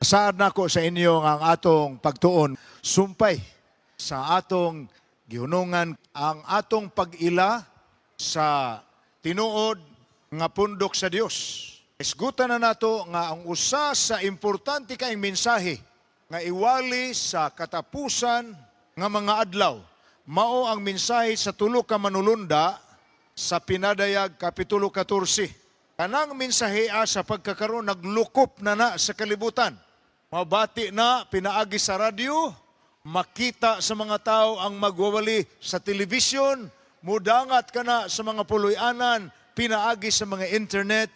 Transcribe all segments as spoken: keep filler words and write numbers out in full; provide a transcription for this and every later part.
Saad nako sa inyo nga ang atong pagtuon sumpay sa atong gihunungan ang atong pag-ila sa tinuod nga pundok sa Dios. Isgutan na nato nga ang usa sa importante kaayong mensahe nga iwali sa katapusan nga mga adlaw mao ang mensahe sa tulo ka manulunda sa Pinadayag Kapitulo katorse. Kanang mensahe sa pagkakaroon naglukop na na sa kalibutan. Mabati na pinaagi sa radyo, makita sa mga tao ang magwawali sa telebisyon, mudangat ka na sa mga puloy-anan, pinaagi sa mga internet,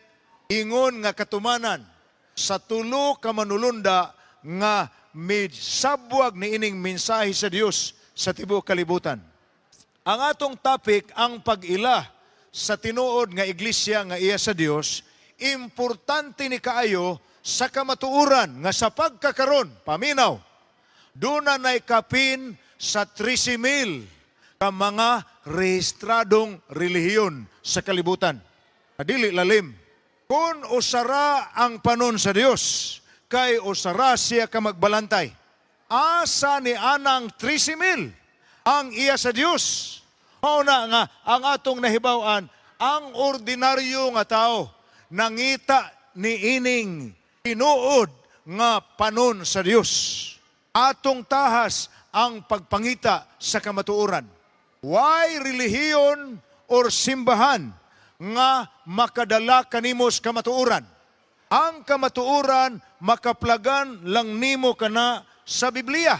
ingon nga katumanan sa tulo ka manulunda nga misabwag ni ining mensahe sa Dios sa tibuok kalibutan. Ang atong topic, ang pag-ila sa tinuod nga iglesia nga iya sa Dios, importante ni kaayo sa kamatuoran nga sa pagkakaron, paminaw, duna nay kapin sa trese mil ka mga rehistradong relihiyon sa kalibutan. Dili lalim. Kung usara ang panon sa Dios, kay usara siya ka magbalantay. Asa ni anang trese mil ang iya sa Dios? Mao na nga ang atong nahibaw-an, ang ordinaryo nga tao nangita ni ining tinuod nga panon sa Dios. Atong tahas ang pagpangita sa kamatuoran. Way relihiyon or simbahan nga makadala kanimo sa kamatuoran? Ang kamatuoran makaplagan lang nimo kana sa Biblia.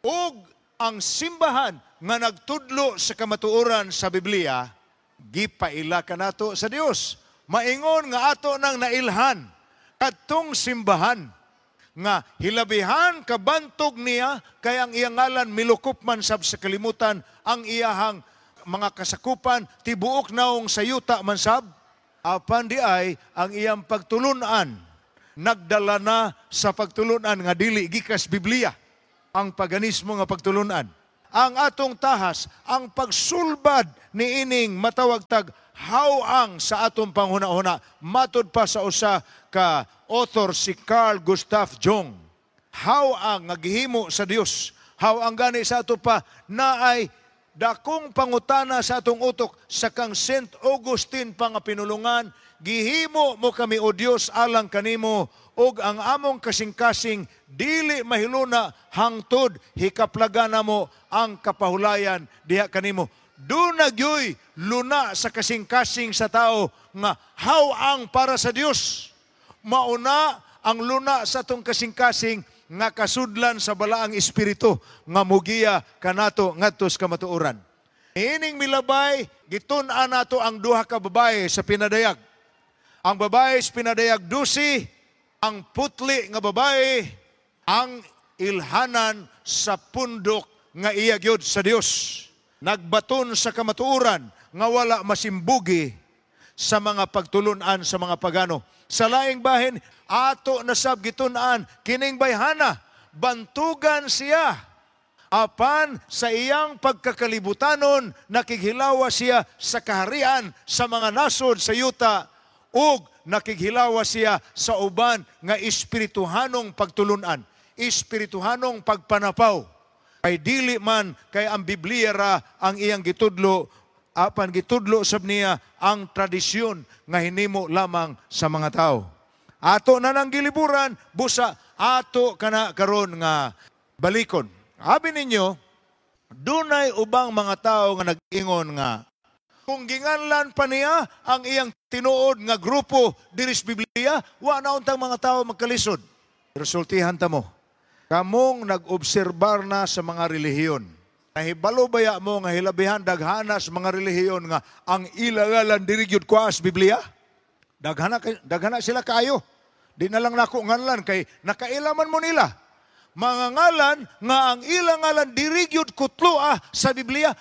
Ug ang simbahan nga nagtudlo sa kamatuoran sa Biblia, gipaila kanato sa Dios. Maingon nga ato nang nailhan kadtong simbahan nga hilabihan kabantog niya kay ang iyang ngalan milukop man sab sa kalimutan, ang iyahang mga kasakupan tibuok naong sa yuta man sab, apan di ay ang iyang pagtulunan nagdala na sa pagtulunan nga dili gikas Biblia, ang paganismo nga pagtulunan. Ang atong tahas, ang pagsulbad ni ining matawag tag hawang sa atong panghuna-huna, matud pa sa usa ka author, si Carl Gustav Jung. Hawang nga gihimo sa Dios. Hawang gani sa ato pa na ay dakong pangutana sa atong utok sa kang Saint Augustine pa nga pinulungan, "Gihimo mo kami, o Dios, alang kanimo, ug ang among kasing-kasing dili mahiluna hangtod hikaplagan namo ang kapahulayan diha kanimo." Duna gyoy luna sa kasing-kasing sa tao nga hawang para sa Dios. Mauna ang luna sa atong kasing-kasing nga kasudlan sa Balaang Espiritu nga mugiya kanato ngadto sa kamatuoran. Ining milabay, gitun-an nato ang duha ka babae sa Pinadayag. Ang babae sa Pinadayag dose, ang putli nga babae, ang ilhanan sa pundok nga iya gyud sa Dios. Nagbaton sa kamatuoran nga wala masimbugi sa mga pagtulunan sa mga pagano. Sa laing bahin, ato na sab gitun-an kining bayhana, bantugan siya. Apan sa iyang pagkakalibutanon, nakighilawa siya sa kaharian sa mga nasod sa yuta ug nakighilawa siya sa uban nga espirituhanong pagtulunan, espirituhanong pagpanapaw. Kay dili man kay ang Biblia ra ang iyang gitudlo, apan gitudlo sab niya ang tradisyon nga hinimo lamang sa mga tao. Ato na nang giliburan, busa ato kana karon nga balikon. Abi ninyo, dunay ubang mga tao nga nag-ingon nga kung ginganlan pa niya ang iyang tinuod nga grupo diri sa Biblia, wa na untang mga tao magkalisod. Pero sultihan ta mo, kamong nag-obserbar na sa mga relihiyon, nahibalo baya mo nga hilabihan daghana sa mga relihiyon nga ang ilangalan diri gyud kuas Biblia? Daghana daghana sila kaayo. Di na lang nako nganlan kay nakailaman mo nila. Mga ngalan nga ang ilang ngalan diri gyud kutloa sa Biblia.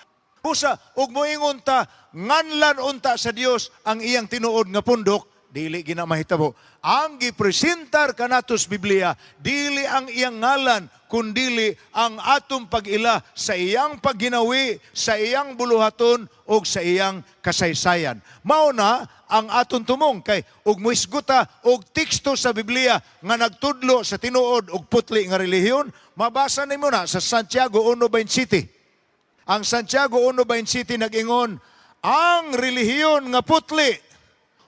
Busa ug moingon ta nganlan unta sa Dios ang iyang tinuod nga pundok, Dili gina mahitabo. Ang gipresentar kanato sa Biblia, dili ang iyang ngalan, kundili ang atong pag-ila sa iyang pagginawi, sa iyang buluhaton ug sa iyang kasaysayan. Mao na ang atong tumong kay ug muisguta og teksto sa Biblia nga nagtudlo sa tinuod ug putli nga relihiyon, mabasa nimo na sa Santiago one twenty-seven. Ang Santiago one twenty-seven nag-ingon, ang relihiyon nga putli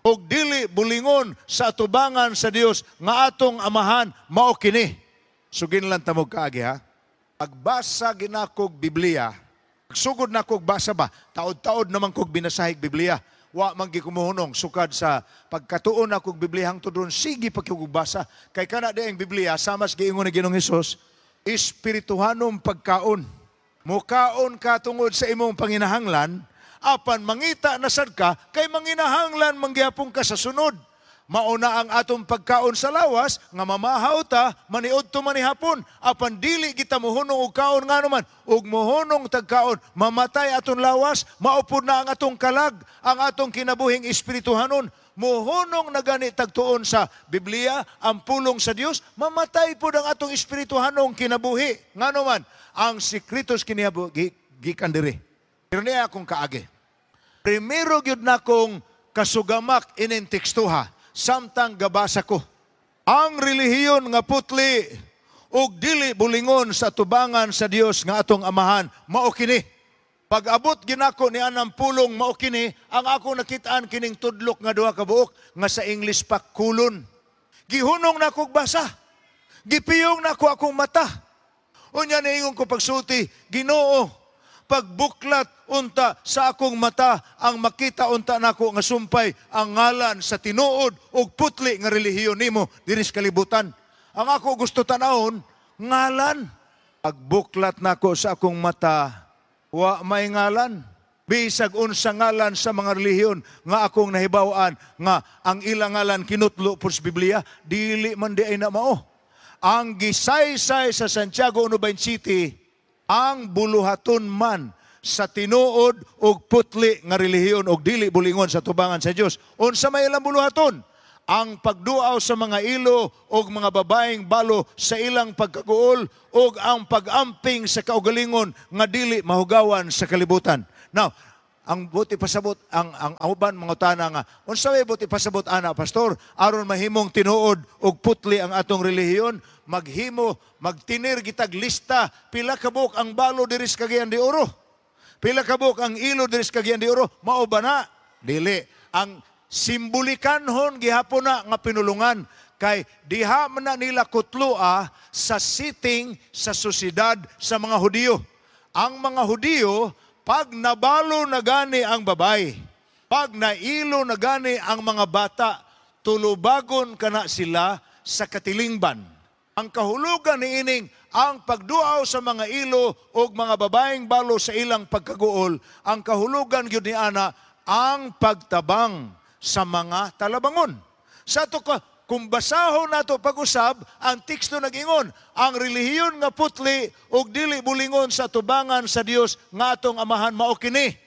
ug dili bulingon sa atubangan sa Dios nga atong Amahan mao kini. Sugin lang tamog kaagi, ha. Pagbasa ginakog Biblia, sugod na kog basa ba, taod-taod naman kog binasahig Biblia. Wa man gi kumuhunong sukad sa pagkatuon na kog Biblia hangtod ron, sige pa kog basa. Kay kana di ang Biblia, samas giingon ni Ginoong Hesus, espirituhanong pagkaon. Mukaon ka tungod sa imong panginahanglan, apan mangita na sad ka kay manginahanglan manggihapon ka sa sunod. Mauna ang atong pagkaon sa lawas nga mamahaw ta maniudto manihapon, apan dili kita mohunong og kaon, ngano man ug mohunong tagkaon, mamatay atong lawas, maupod na ang atong kalag, ang atong kinabuhing espirituhanon. Mohunong na gani tagtuon sa Biblia, ang pulong sa Dios, mamatay pod ang atong espirituhanong kinabuhi, ngano man ang sikretos kinihabu gikan diri. Pero niya akong kaagi, primero gyud na kong kasugamak ining tekstuha samtang gabasa ko. Ang relihiyon nga putli ug dili bulingon sa tubangan sa Dios nga atong Amahan mao kini. Pag-abot ginako ni anang pulong "mao kini", ang ako nakitaan kining tudlok nga duha ka buok nga sa English pa colon. Gihunong na kog basa. Gipiyong nako akong mata. Unya niingon ko pagsulti, "Ginoo, pagbuklat unta sa akong mata ang makita unta nako nga sumpay ang ngalan sa tinuod ug putli nga relihiyon nimo diri sa kalibutan." Ang ako gusto tanawon, ngalan. Pagbuklat nako sa akong mata, wa may ngalan. Bisag unsa ngalan sa mga relihiyon nga akong nahibaw-an nga ang ilang ngalan kinutlo po sa Biblia, dili man di ay na mao. Ang gisaysay sa Santiago one twenty-seven, ang buluhaton man sa tinuod ug putli nga relihiyon og dili bulingon sa tubangan sa Dios. Unsa may ilang buluhaton? Ang pagduaw sa mga ilo og mga babaeng balo sa ilang pagkaguol ug ang pag-amping sa kaugalingon nga dili mahugawan sa kalibutan. Now, ang buti pasabot, ang ang uban mga tana nga unsa may buti pasabot ana, pastor, aron mahimong tinuod ug putli ang atong relihiyon? Maghimo, magtinir gitag lista pila ka buok ang balo diri sa Cagayan de Oro, pila ka buok ang ilo diri sa Cagayan de Oro. Mao ba na? Dili. Ang simbolikanhon gihapon na nga pinulungan kay diha man na nila kutloa sa sitting sa sosyedad sa mga Hudiyo. Ang mga Hudiyo, pag nabalo na gani ang babay, pag nailo na gani ang mga bata, tulubagon kana sila sa katilingban. Ang kahulugan ni ining ang pagduaw sa mga ilo o mga babaeng balo sa ilang pagkaguol, ang kahulugan gyud ni ana ang pagtabang sa mga talabangon. Sa ato ka, kung basahon nato pag-usab, ang teksto nag-ingon, ang relihiyon nga putli ug dili bulingon sa tubangan sa Dios nga atong Amahan mao kini,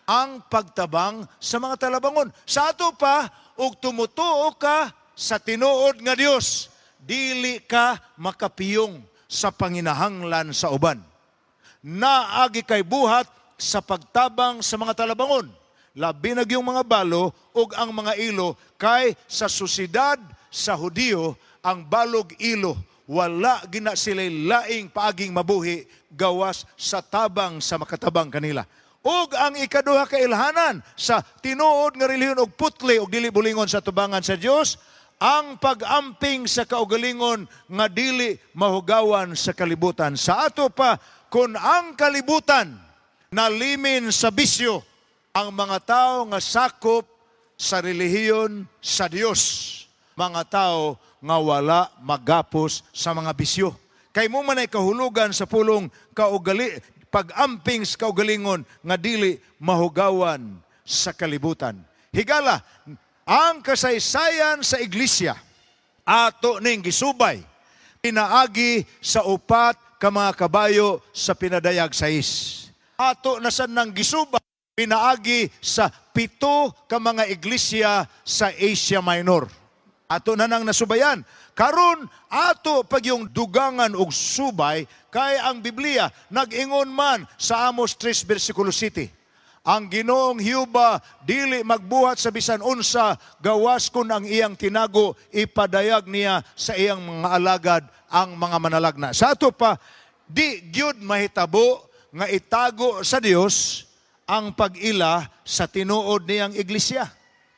ang pagtabang sa mga talabangon. Sa ato pa, ug tumutuo ka sa tinuod nga Dios, dili ka makapiyong sa panginahanglan sa uban. Naagi kay buhat sa pagtabang sa mga talabangon. Labi na yung mga balo ug ang mga ilo kay sa sosyedad sa Hudiyo, ang balog ilo, wala gina sila laing paaging mabuhi gawas sa tabang sa makatabang kanila. Ug ang ikaduha ka ilhanan sa tinuod nga relihiyon og putli og dili bulingon sa tubangan sa Dios, ang pag-amping sa kaugalingon nga dili mahugawan sa kalibutan. Sa ato pa, kung ang kalibutan nalimin sa bisyo, ang mga tao nga sakop sa relihiyon sa Dios, mga tao nga wala magapos sa mga bisyo. Kay mo man ay kahulugan sa pulong kaugali, pag-amping sa kaugalingon nga dili mahugawan sa kalibutan. Higala, ang kasaysayan sa iglesia ato ning gisubay pinaagi sa upat ka mga kabayo sa pinadayag sais. Ato na sad nang gisubay Pinaagi sa pito ka mga iglesia sa Asia Minor. Ato na nang nasubayan. Karon ato pagyung dugangan og subay kay ang Biblia nag-ingon man sa Amos three versikulo siyete. Ang Ginoong Hiuba dili magbuhat sa bisan unsa gawas kun ang iyang tinago ipadayag niya sa iyang mga alagad, ang mga manalagna. Sa ato pa, di gyud mahitabo nga itago sa Dios ang pag-ila sa tinuod niyang iglesia.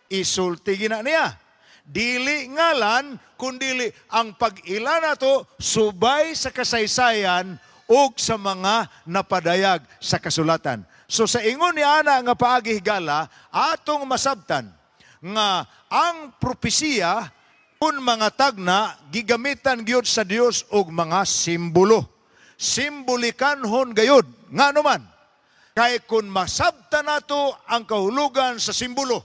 Isulti gina niya. Dili ngalan, kundili ang pag-ila nato subay sa kasaysayan ug sa mga napadayag sa kasulatan. So sa ingon ni ana nga paagi, higala, atong masabtan nga ang propesiya kun mga tagna gigamitan gyud sa Dios og mga simbolo. Simbolikanhon gayud. Ngano man? Kay kun masabtan nato ang kahulugan sa simbolo,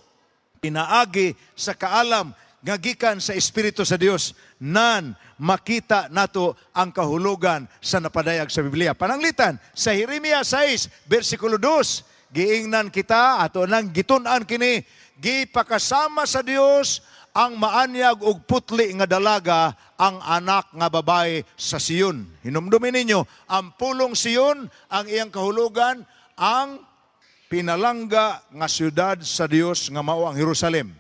pinaagi sa kaalam nga gikan sa Espiritu sa Dios, nan makita nato ang kahulugan sa napadayag sa Biblia. Pananglitan, sa Jeremias sais, versikulo two, giingnan kita, ato nang gitun-an kini, gipakasama sa Dios ang maanyag og putli nga dalaga, ang anak nga babae sa Sion. Hinumdumin ninyo, ang pulong Sion, ang iyang kahulugan, ang pinalangga nga syudad sa Dios nga mao ang Jerusalem.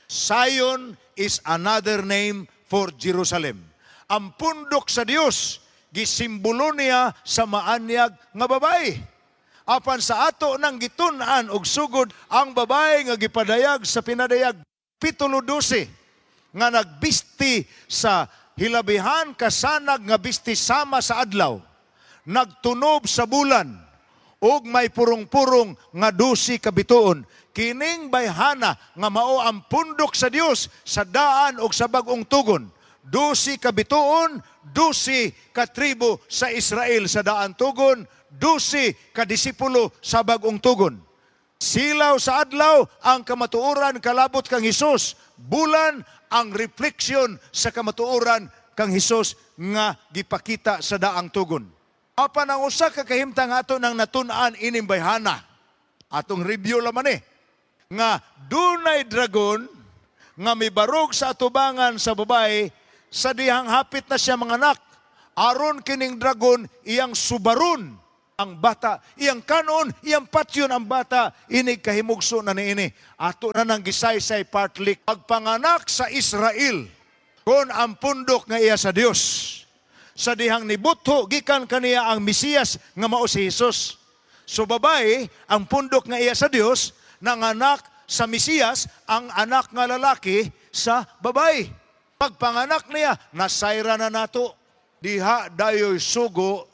Zion is another name for Jerusalem. Ang pundok sa Dios gisimbolo niya sa maanyag nga babae. Apan sa ato nang gitun-an og sugod, ang babae nga gipadayag sa Pinadayag pitulo dose nga nagbisti sa hilabihan kasanag nga bisti sama sa adlaw, nagtunob sa bulan, ug may purong-purong nga dosi ka bituon. Kining bayhana nga mao ang pundok sa Dios sa daan ug sa bag-ong tugon. Dosi ka bituon, dosi ka tribo sa Israel sa daan tugon, dosi ka disipulo sa bag-ong tugon. Silaw sa adlaw ang kamatuoran kalabot kang Hesus. Bulan ang refleksyon sa kamatuoran kang Hesus nga gipakita sa daang tugon. Apan ang usa ka kahimtang ato nang natun-an ining bayhana. Atong review laman eh. Nga dunay dragon nga mibarog sa atubangan sa babae sa dihang hapit na siya manganak. Aron kining dragon iyang subaron ang bata, iyang kanon, iyang patyon ang bata, inig kahimugso na niini. Ato na nang gisaysay partly pagpanganak sa Israel kon ang pundok nga iya sa Dios. Sa dihang nibutho gikan kaniya ang Mesiyas nga mao si Jesus. So babae, ang pundok nga iya sa Dios, nanganak sa Mesiyas, ang anak nga lalaki sa babae. Pagpanganak niya, nasayra na nato. Diha dayoy sugo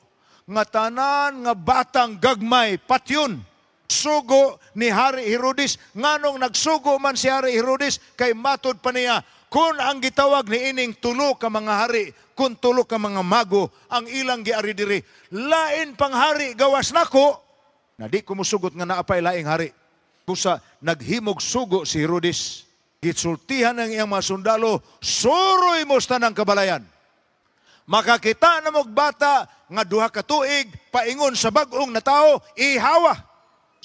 nga tanan nga batang gagmay patyon. Sugo ni Hari Herodes. Nganong nagsugo man si Hari Herodes? Kay matud pa niya kung ang gitawag ni ining tulo ka mga hari, kung tulo ka mga mago ang ilang giari diri, lain pang hari gawas nako na di ko musugot nga naapay laing hari. Busa naghimog sugo si Herodes. Gitsultihan ang iyang mga sundalo, "Suroy mo sa tanang kabalayan. Makakita na mog bata nga duha ka tuig paingon sa bag-ong natawo, ihawa."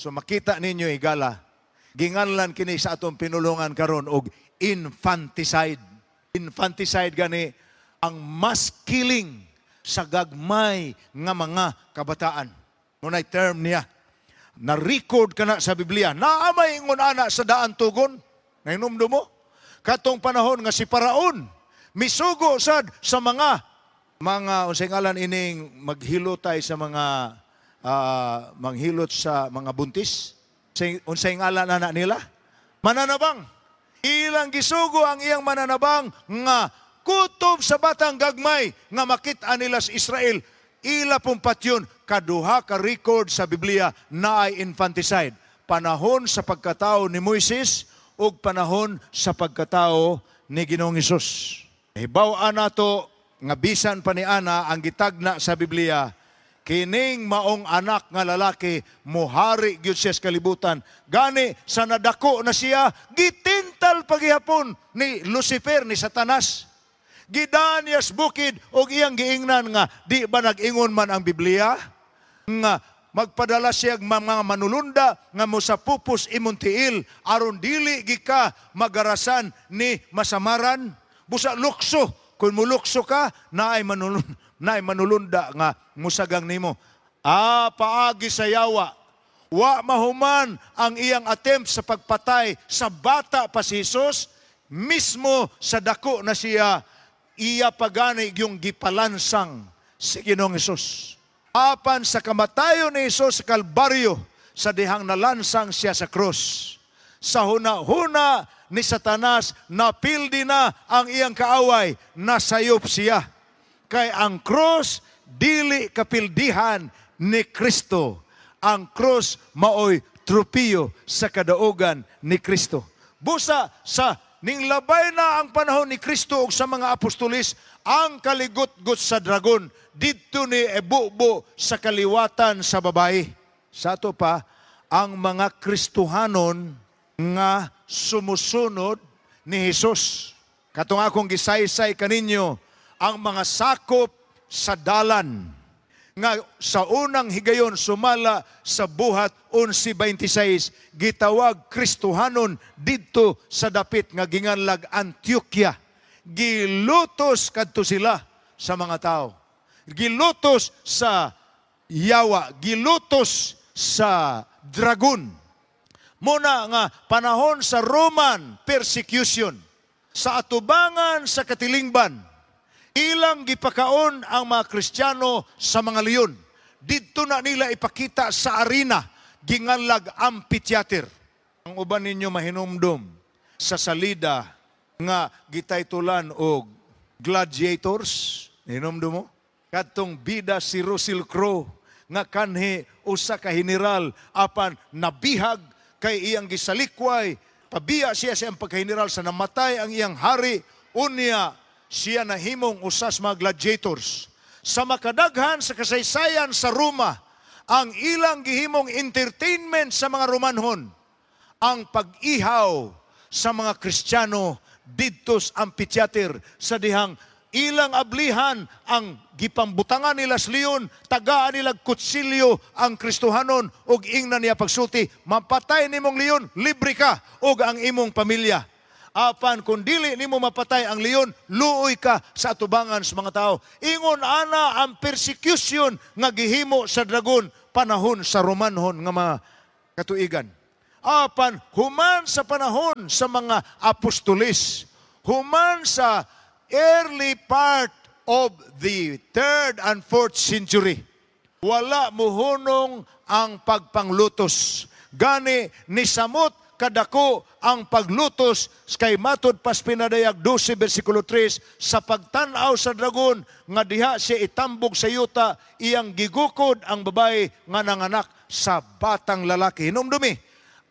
So makita ninyo, higala, ginganlan kini sa atong pinulungan karon og infanticide. Infanticide gani ang mass killing sa gagmay nga mga kabataan. Nunay term niya. Na-record ka na sa Biblia. Naamay ingon ana sa daan tugon. Nahinumdum mo? Katong panahon nga si Paraon misugo sad sa mga mga unsay ngalan ining maghilotay sa mga ah, manghilot sa mga buntis? Unsay, unsay ngalan ana nila? Mananabang. Ilang gisugo ang iyang mananabang nga kutob sa batang gagmay nga makita nila sa Israel, ila pong patyon. Kaduha ka record sa Biblia na ay infanticide. Panahon sa pagkatao ni Moises ug panahon sa pagkatao ni Ginoong Hesus. Hibaw-an nato nga bisan pa ni ana ang gitagna sa Biblia, kining maong anak nga lalaki muhari gyud siya sa kalibutan. Gani sa nadako na siya, gitintal pagihapon ni Lucifer, ni Satanas. Gidaan niya sa bukid og iyang giingnan nga di ba nag-ingon man ang Biblia nga Magpadala siya mga manulunda nga mosapupos imong tiil aron dili gika magarasan ni masamaran. Busa lukso, kung mulukso ka, naay manulun naay manulunda nga musagang nimo. Ah, paagi sa yawa. Wa mahuman ang iyang attempt sa pagpatay sa bata pa si Jesus, mismo sa dako na siya, iya pagani yung gipalansang si Ginoong Hesus. Apan sa kamatayon ni Jesus sa Kalbaryo, sa dihang nalansang siya sa krus. Sa huna-huna ni Satanas, napildi na ang iyang kaaway, nasayop siya. Kay ang krus, dili kapildihan ni Kristo. Ang krus maoy tropiyo sa kadaugan ni Kristo. Busa sa ninglabay na ang panahon ni Kristo ug sa mga apostolis, ang kaligot-got sa dragon didto ni ebubo sa kaliwatan sa babae. Sa ato pa, ang mga Kristohanon nga sumusunod ni Jesus. Katong akong gisaysay kaninyo, ang mga sakop sa dalan nga sa unang higayon sumala sa Buhat labing-onse gitawag Kristohanon didto sa dapit nga ginganlag Antioquia. Gilutos kadto sila sa mga tao. Gilutos sa yawa, gilutos sa dragon. Muna nga panahon sa Roman persecution, sa atubangan sa katilingban, ilang gipakaon ang mga Kristiyano sa mga leon. Didto na nila ipakita sa arena, ginganlag amphitheater. Ang uban ninyo mahinumdum sa salida nga gitaytulan og Gladiators. Hinumdum mo? Kadtong bida si Russell Crowe nga kanhi usa ka general apan nabihag kay iyang gisalikway, pabiya siya sa iyang pagka-general sa namatay ang iyang hari, unya siya nahimong usas mga gladiators. Sa makadaghan sa kasaysayan sa Roma, ang ilang gihimong entertainment sa mga Romanhon, ang pag-ihaw sa mga Kristiyano didto sa amphitheater sa dihang ilang ablihan ang gipambutangan nila sa leon, tagaan nila kutsilyo ang Kristohanon ug ingnan niya pagsulti, "Mapatay nimong leon, libre ka ug ang imong pamilya. Apan kung dili nimo mapatay ang leon, luoy ka sa atubangan sa mga tao." Ingon ana ang persecution nga gihimo sa dragon panahon sa Romanhon nga mga katuigan. Apan human sa panahon sa mga apostolis, human sa early part of the third and fourth century, wala muhunong ang pagpanglutos. Gani nisamot kadako ang paglutos kay matud pas Pinadayag dose versikulo tres, sa pagtan-aw sa dragon nga diha siya itambog sa yuta, iyang gigukod ang babae nga nanganak sa batang lalaki. Hinumdumi,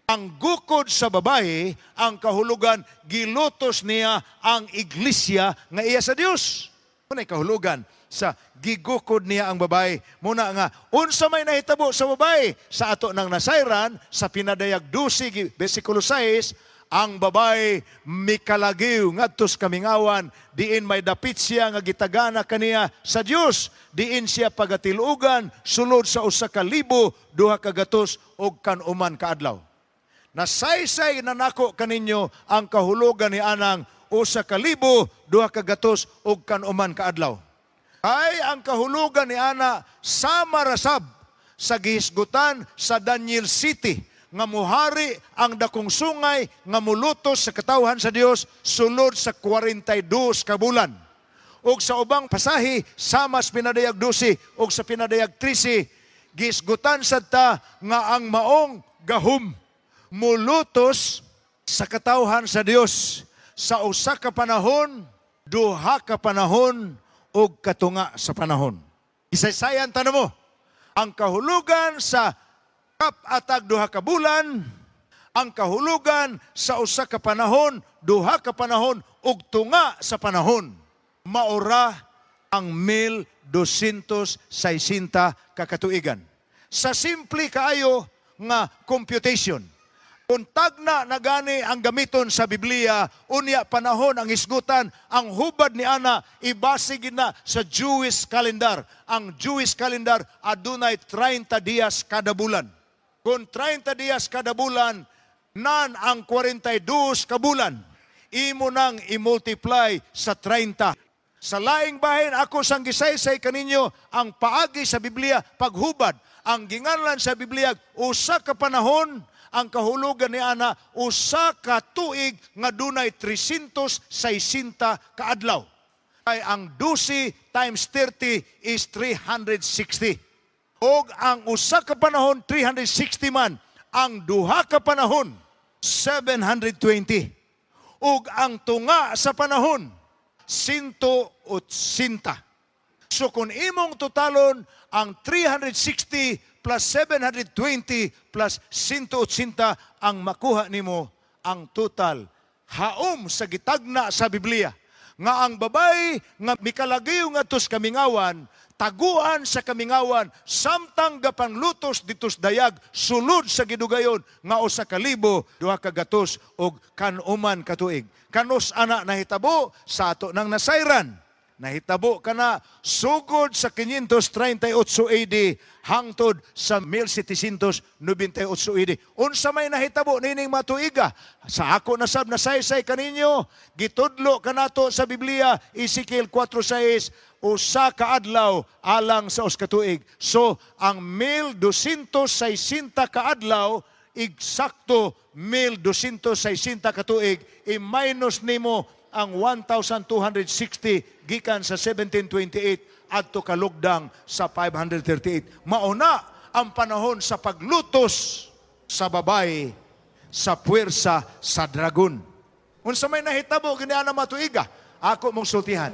ang gukod sa babae, ang kahulugan, gilutos niya ang iglesia nga iya sa Dios. Muna kahulugan sa gigukod niya ang babae. Muna nga, unsa may nahitabo sa babae? Sa ato nang nasayran, sa Pinadayag dose, versikulo sais, ang babae mikalagiw ngadto sa kamingawan, diin may dapit siya nga gitagana kaniya sa Dios, diin siya pagatilugan sulod sa usa ka libo duha ka gatos og kanuman ka adlaw. Nasaysay na nako kaninyo ang kahulugan ni anang usa ka libo duha ka gatos og kanuman ka adlaw. Ay ang kahulugan ni ana sama rasab sa gihisgutan sa Daniel Siyete nga muhari ang dakong sungay nga mulutos sa katawhan sa Dios sulod sa kwarenta y dos ka bulan. Og sa ubang pasahe sama sa Pinadayag dose og sa Pinadayag trese, gihisgutan sad ta nga ang maong gahom mulutos sa katawhan sa Dios sa usa ka panahon, duha ka panahon ug katunga sa panahon. Isaysayan tanong mo, ang kahulugan sa kap-atag duha ka bulan, ang kahulugan sa usa ka panahon, duha ka panahon ug tunga sa panahon. Maura ang mil dosyentos sesenta ka katuigan. Sa simple kaayo nga computation, Kung tagna na gani ang gamiton sa Biblia, unya panahon ang hisgutan, ang hubad ni ana ibase gid na sa Jewish calendar. Ang Jewish calendar adunay treinta dias kada bulan. Kung treinta dias kada bulan, nan ang kwarenta y dos ka bulan, imo nang i-multiply sa treinta. Sa laing bahin, ako sang gisaysay kaninyo ang paagi sa Biblia paghubad. Ang ginganlan sa Biblia usa ka panahon, ang kahulugan ni ana usa ka tuig nga dunay trescientos sesenta ka adlaw. Kay ang twelve times thirty is three hundred sixty. Og ang usa ka panahon three hundred sixty man, ang duha ka panahon seven hundred twenty. Ug ang tunga sa panahon one eighty. So kung imong totalon ang three hundred sixty plus seven hundred twenty plus one eighty, ang makuha nimo ang total haom sa gitagna sa Biblia nga ang babay nga mikalagiw ngadto sa kamingawan, taguan sa kamingawan samtang gapanglutos dito sa dayag sulod sa gidugayon nga usa ka libo duha ka gatos og kanuman ka tuig. Kanus ana nahitabo? Sa ato nang nasayran, nahitabo kana sugod sa five thirty-eight A D hangtod sa seventeen ninety-eight A D. Unsa may nahitabo nining matuiga? Sa ako nasab nasaysay kaninyo, gitudlo kanato sa Biblia, Ezekiel four six, usa ka adlaw alang sa usa ka tuig. So ang twelve sixty ka adlaw eksakto twelve sixty ka tuig, i-minus nimo ang one thousand two hundred sixty gikan sa seventeen twenty-eight adto kalugdang sa five thirty-eight. Mauna ang panahon sa paglutos sa babay sa puwersa sa dragon. Unsa may nahitabo gini ana matuiga? Ako mong sultihan.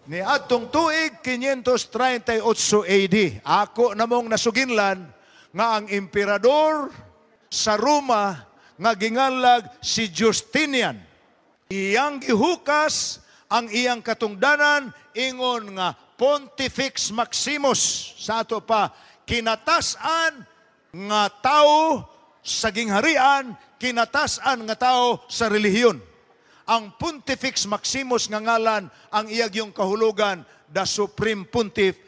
Ni adtong tuig five thirty-eight A D, ako namong nasuginlan nga ang emperador sa Roma nga ginganlag si Justinian, iyang gihukas ang iyang katungdanan ingon nga Pontifex Maximus, sa ato pa kinatas-an nga tao sa gingharian, kinatas-an nga tao sa relihiyon. Ang Pontifex Maximus nga ngalan, ang iyag yung kahulugan, the Supreme Pontiff,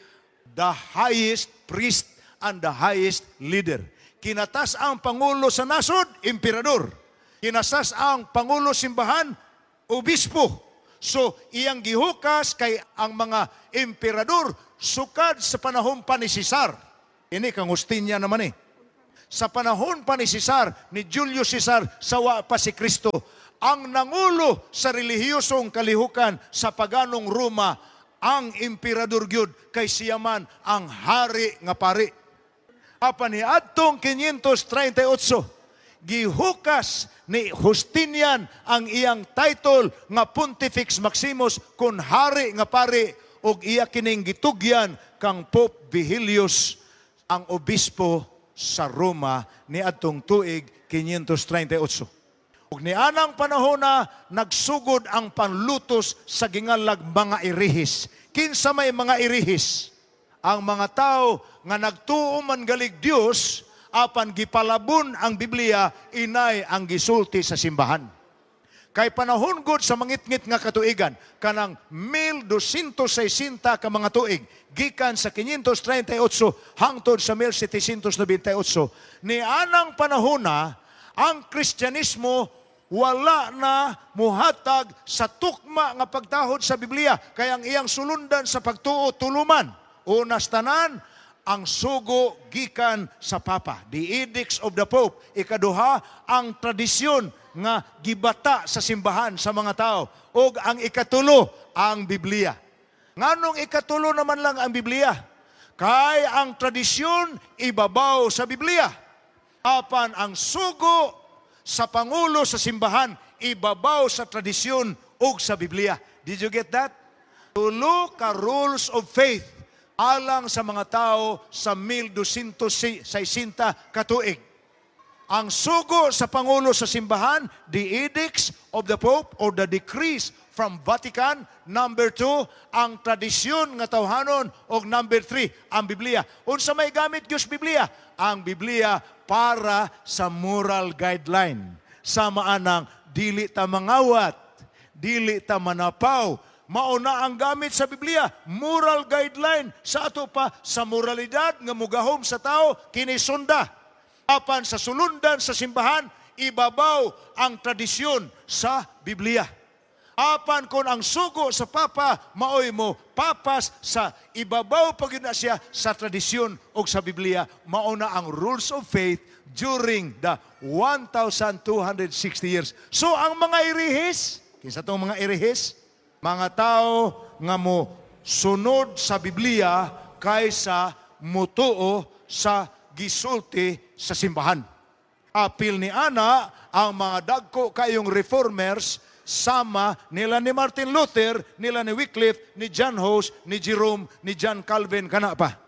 the highest priest and the highest leader. Kinatas ang pangulo sa nasod, emperador. Kinatas ang pangulo simbahan, obispo. So, iyang gihukas kay ang mga emperador sukad sa panahon pa ni Cesar. Ini kang Justinian naman eh. Sa panahon pa ni Cesar, ni Julius Caesar, sawa pa si Kristo, ang nangulo sa relihiyosong kalihukan sa paganong Roma, ang emperador gyud, kay siya man ang hari nga pari. Apan ni adtong five thirty-eight, gihukas ni Justinian ang iyang title nga Pontifex Maximus kun hari nga pari ug iya kining gitugyan kang Pope Vigilius, ang obispo sa Roma ni adtong tuig five thirty-eight. Ug nianang panahon na nagsugod ang panlutos sa gingalag mga erehis. Kinsa may mga erehis? Ang mga tao nga nagtuo man galig Dios apan gipalabon ang Biblia, inay ang gisulti sa simbahan. Kay panahon gud sa mangitngit nga katuigan, kanang twelve sixty ka mga tuig, gikan sa five thirty-eight hangtod sa seventeen ninety-eight, ni anang panahon na ang Kristyanismo wala na muhatag sa tukma nga pagtahod sa Biblia, kay ang iyang sulundan sa pagtuo tuluman. Unas tanan, ang sugo gikan sa Papa, the edicts of the Pope. Ikaduha, ang tradisyon nga gibata sa simbahan sa mga tao. Og ang ikatulo, ang Biblia. Nganong ikatulo naman lang ang Biblia? Kay ang tradisyon ibabaw sa Biblia. Apan ang sugo sa pangulo sa simbahan ibabaw sa tradisyon ug sa Biblia. Did you get that? Tulo ka rules of faith alang sa mga tao sa twelve sixty katuig. Ang sugo sa pangulo sa simbahan, the edicts of the Pope or the decrees from Vatican. Number two, ang tradisyon nga tawhanon. Og number three, ang Biblia. Unsa may gamit gyud sa Biblia? Ang Biblia para sa moral guideline. Sama anang dili ta mangawat, dili ta manapaw, mao na ang gamit sa Biblia, moral guideline sa ato pa sa moralidad nga mugahom sa tao kini sunda. Apan sa sulundan sa simbahan, ibabaw ang tradisyon sa Biblia. Apan kung ang sugo sa Papa maoy mo papas sa ibabaw pa gyud na siya sa tradisyon o sa Biblia, mao na ang rules of faith during the one thousand two hundred sixty years. So ang mga erehis, kinsa tong mga erehis? Mga tao nga mo sunod sa Biblia kaysa mutuo sa gisulti sa simbahan. Apil ni ana ang mga dagko kayong reformers sama nila ni Martin Luther, nila ni Wycliffe, ni John Hus, ni Jerome, ni John Calvin kana pa.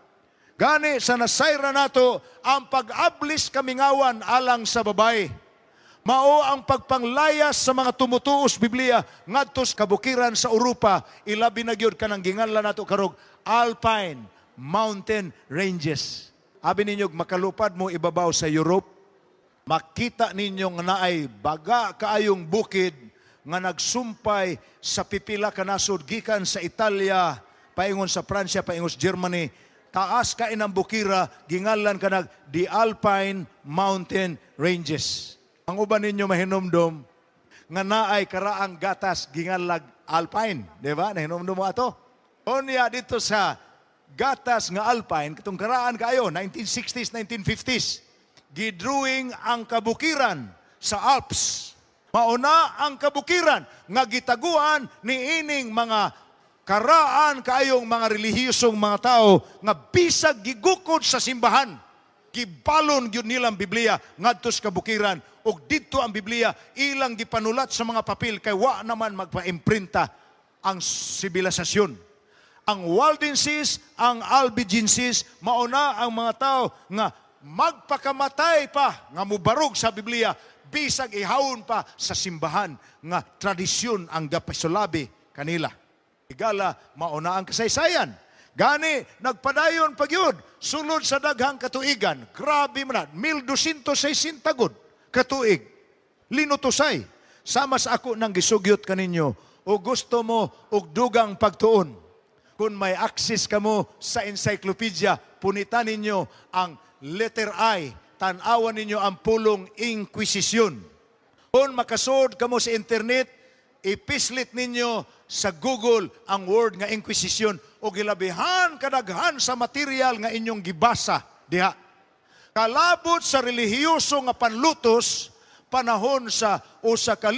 Gani sa nasayra nato ang pag-ablis kamingawan alang sa babae. Mao ang pagpanglayas sa mga tumutuos Biblia ngadto sa kabukiran sa Europa, ilabi na gyud kanang ginganlan nato karong Alpine Mountain Ranges. Abi ninyo makalupad mo ibabaw sa Europe, makita ninyo nga naay baga kaayong bukid nga nagsumpay sa pipila ka nasod gikan sa Italia paingon sa Pransya paingon sa Germany. Taas ka inang bukira, gingalan kanag the Alpine Mountain Ranges. Ang uban ninyo mahinumdom nga naay karaang gatas ginganlag Alpine, di ba? Nahinumdom mo ato? Unya dito sa gatas nga Alpine, katong karaan kaayo, nineteen sixties, nineteen fifties, gidrawing ang kabukiran sa Alps. Mauna ang kabukiran nga gitaguan ni ining mga karaan kaayong mga relihiyosong mga tao nga bisag gigukod sa simbahan, gibalon gyud nilang Biblia ngadto sa kabukiran ug didto ang Biblia ilang gipanulat sa mga papel kay wa naman magpa-imprinta ang sibilisasyon. Ang Waldenses, ang Albigenses, mauna ang mga tao nga magpakamatay pa nga mubarog sa Biblia bisag ihawon pa sa simbahan nga tradisyon ang gapasulabi kanila. Igala, mauna ang kasaysayan. Gani, nagpadayon pagyud sulod sa daghang katuigan. Grabe man na, mil dosyentos sesenta gud katuig. Linutusay. Sama sa ako nang gisugyot kaninyo, o gusto mo og dugang pagtuon. Kung may access kamo sa encyclopedia, punitan ninyo ang letter I, tan-awan ninyo ang pulong Inquisition. Kung makasud kamo sa internet, ipislit ninyo sa Google ang word nga Inquisition o gilabihan kadaghan sa material nga inyong gibasa diha. Kalabot sa relihiyoso nga panlutos panahon sa usa ka